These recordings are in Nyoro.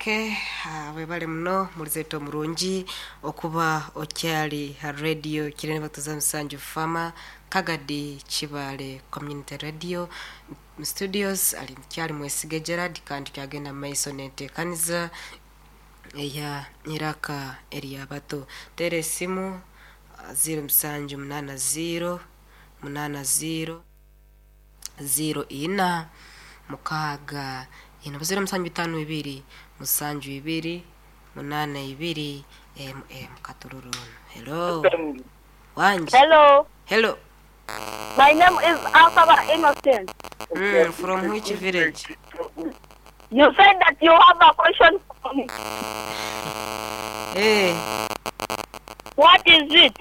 Okay, webale muno mulizetu omurungi okuba okyali ha radio kirene batuza musanju fama Kagadi Kibale Community Radio mu studios ali kyali Mwesige Gerard, kandi kyagenda mu maiso nentekaniza eya iraka eryabato. Tera esimu 0780 80 04 6 ina 0752 72 82 mm katururunu. Hello. Wanji. Hello. Hello. My name is Asaba Innocent. From which village? You said that you have a question for me. Hey. What is it?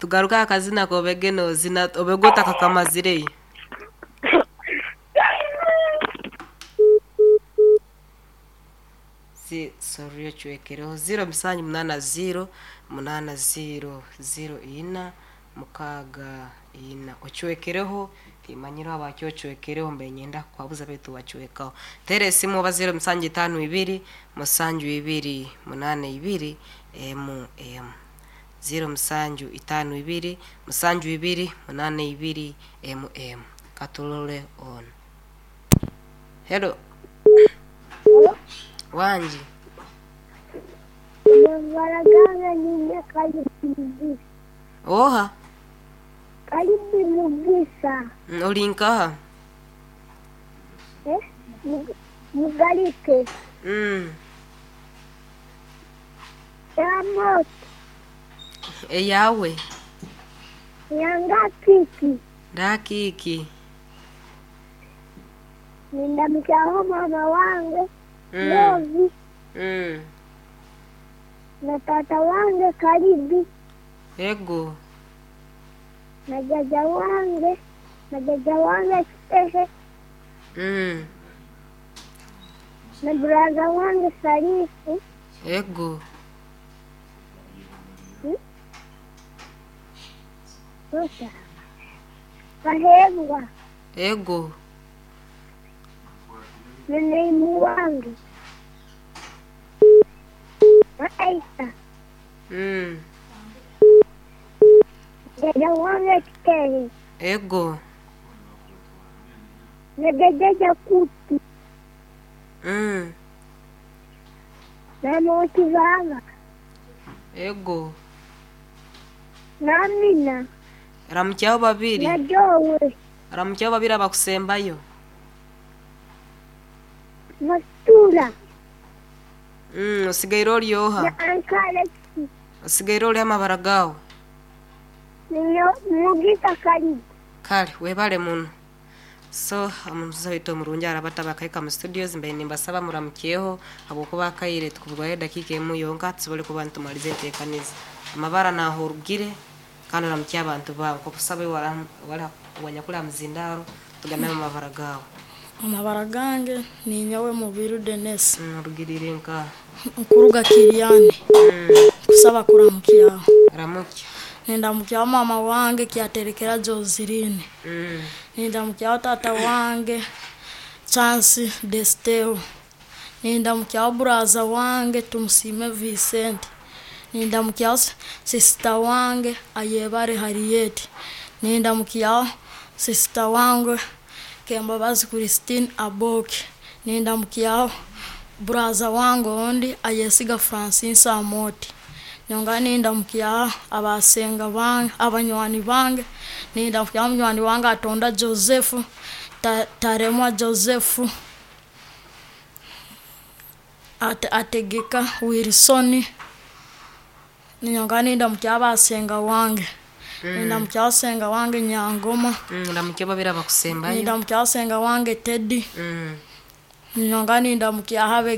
Tugaruka akazina kobegeno zina obegota kakamazire. Si sorry ochwekereho 0780 80 04 6 ochwekereho timanyiro abaki ochwekereho mbe nyenda kwabuza betu bachwekaho. Tere esimu oba 0752 72 82 mm 0752 72 82 mm katulole on. Hello. Wanji. Baragana nyine Kalibi. Oha. Kalibi Mugisa. Olinkaha. Eh? Mugalike. Yamot. Eyawe. Yanga kiki. Dakiki. Nindamkyaho mama wange. Lovi. Na tata wange Karibi. Ego. Na jaja wange. Na jaja wange Kitehe. Na brother wange Sarifu. Ego. Rosa. Kahebwa. Ego. Na neimu wange. Aisha. Jaja wange Kitehe. Ego. Na jaja Jakuti. Na Motivanga. Ego. Na Amina. Ramukyaho babiri. Na Jowe. Ramukyaho babiri abakusembayo. Mastura. Osigaire oryoha. Na Ankara. Osigaire ori amabara gawe. Mugisa Karibu. Kale webale muno. So omutuza waitu omurungi arabata bakaika mu studios mbe nimbasaba muramukyeho habwokuba akaire tukubwayo edakika emu yonka tusobole kuba nitumaliza enteekaniza. Amabara nahorugire kandi oramukye abantu bawe nkokusaba wanyakula muzindaro tugambe amabara gawe. Amabara gange ninyowe Mubiru Dennis. Orugirire nka nkuruga Kiriani. Kusaba kuramukyaho. Ramukya. Nindamukyaho mama wange kyaterekera Joseline. Nindamukyaho tata wange Chance Desteo. Nindamukyaho buraza wange Tumusime Vincent. Nindamukyaho sister wange Ayebare Harriet. Nindamukyaho sister wange Kembabazi Christine Aboki. Nindamukyaho buraza wange ondi Ayesiga Francis Amoti. Nyonga nindamukyaho abasenga bange abanywani bange. Nindamukyaho munywani wange Atonda Joseph, Taremwa Joseph, Ategeka Wilson. Nyonga nindamukyaho abasenga wange. Nindamukyaho senga wange Nyangoma. Ndamukyaho babiri abakusembayo. Nindamukyaho senga wange Teddy. Nyonga nindamukyaho.